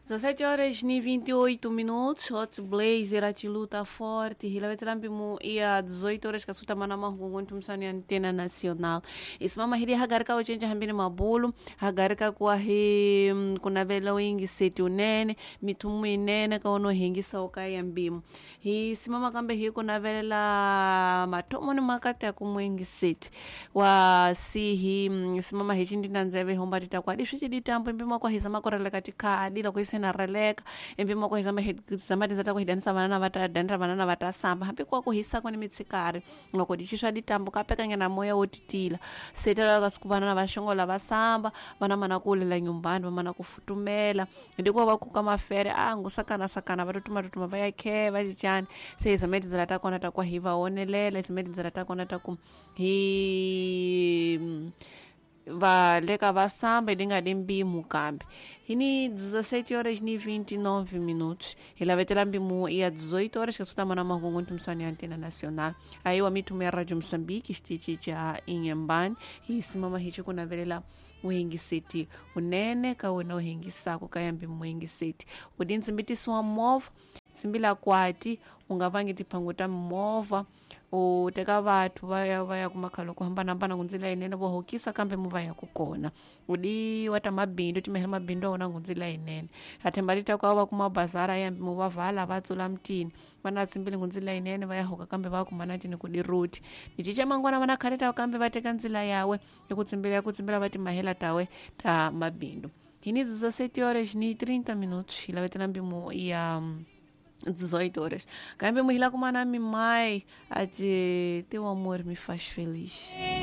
17 horas e 28 minutos, Hot Blazer, a luta forte, hilavetelambimu ia 18 horas kasuta mana mahungu msani antena nacional. Isimama hili hagarika ochenja hambini mabulu, hagarika kwa hi kuna vela wingi seti unene, mitumu inene kaono hingisa okaya mbimu. Hi simama kambe hi kuna vela matomo ni makati ya kumwingi seti. Wa si hi simama hi chindi nanzebe homba titakwadi swichi ditambo mbima kwa hisama koreleka tikadi la kuisena releka empimo kwa hizama hizama tizata kuhidanisa vanana vatadanira vanana vatasamba hambi kwa kuhisa kuni mitsikari loko dichiswa ditambo kapekanya na moya wotitila setela kasiku vanana vaxongola vasamba vana mana kuulela nyumbani vamana kufutumela ndikuva vakuka mafere angu sakana sakana vatutuma tutuma va ya khe va cincani se hizama tindzela ta kona ta ku hi va onelela hizama tindzela ta kona ta ku hi va leka va samba idinga di mbimu kambe hini 17 horas ni 29 minutos hilavetela mbimu ya 18 horas kasuta mana mahungu ntumsani ya antena nacional aí wa mitume ya radio Moçambique xitichi cha Inhambane hisimama hichi kunavelela uhingiseti unene ka wena uhingisako ka ya mbimu uhingiseti udi ntsimbitisi wa movha tsimbila kwati unga vangi tiphangu ta mimovha u teka vathu va ya va ya kumakhalo ku hambanahambana ku ndzila yinene vo hokisa kambe mu va ya ku kona udi wa ta mabindzu timehela mabindzu a wona ku ndzila yinene athemba ti ta ku va kuma bazara ya mu va vala va tsula mutini va na tsimbili ku ndzila yinene va ya hoka kambe va kuma na tini ku diruti ni cinca mangwana va na khale ta kambe va teka ndzila yawe ya ku tsimbila ya ku tsimbila va timahela tawe ta mabindzu hini 17 horas ni 30 minutos hilavetela mbimu ya 18 horas. Kambe muhila kumana mimai ati teu amor me faz feliz.